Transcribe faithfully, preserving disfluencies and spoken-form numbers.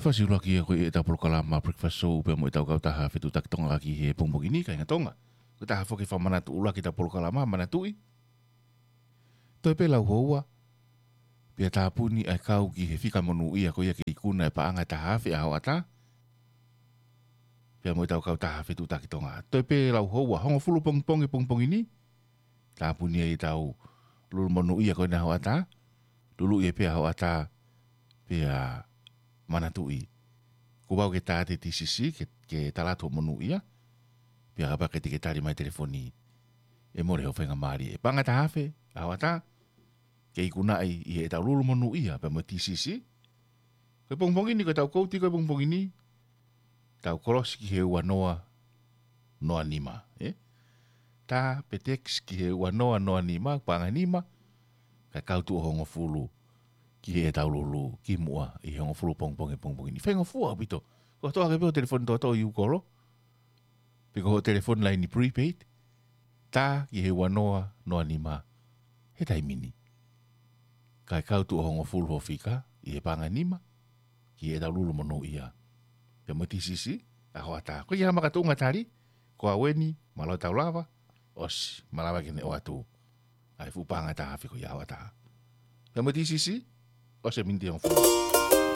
Fasi ʻuluaki ia ko ia ʻetau polokalama Breakfast Show pea mo ʻetau kautaha Fetuʻutaki Tonga ki he pongipongi ni, kāinga Tonga. Ko e taha foki fakamanatu ʻuluaki ʻetau polokalama, manatuʻi. Toe pē lau houa, pea tāpuni ʻa e kau ki he fika monūʻia ko ia ke ikuna e paʻanga ʻe taha afe ʻa hoʻatā. Pea mo ʻetau kautaha Fetuʻutaki Tonga. Toe pē lau houa, hongofulu pongipongi pongipongi ni. Tāpuni ai ʻetau lulu monūʻia ko ena ʻa hoʻatā. Luluʻi pē ʻa hoʻatā, pea manatuʻi. Kuo pau ke tā atu e T C C, ke, ke tala atu hoʻo monūʻia. Pea kapau ʻe ʻikai te ke tali mai telefoni, ʻe mole hoʻo faingamālie. Paʻanga ʻe taha afe ʻa hoʻatā, ke ikunaʻi ʻi heʻetau lulu monūʻia pea mo e T C C. Ko e pongipongi ni, ko ʻetau kouti ko e pongipongi ni, tau kolosi ki he ua noa noa nima, ē? Tā pe text ki he ua noa noa nima, paʻanga ʻe nima, kae kau tuʻo hongofulu ki heʻetau lulu kimuʻa ʻi he hongofulu pongipongi pongipongi ni. Faingofua ʻaupito. Ko e toʻo hake pē hoʻo telefoni toʻotoʻo ʻi ʻū kolo, pe ko hoʻo telefoni laini prepaid, tā ki he ua noa noa nima he taimi ni. Kae kau tuʻo hongofulu hoʻo fika ʻi he paʻanga ʻe nima ki heʻetau lulu monūʻia pea mo e T C C ʻa hoʻatā. Ko ia makatuʻunga tali, ko au eni, mālō e tau lava, ʻosi, malava ke ne ʻoatu ʻa e fuʻu paʻanga ʻe taha afe ko ia ʻa hoʻatā. Pea mo e T C C, ʻosi e miniti ʻe hongofulu.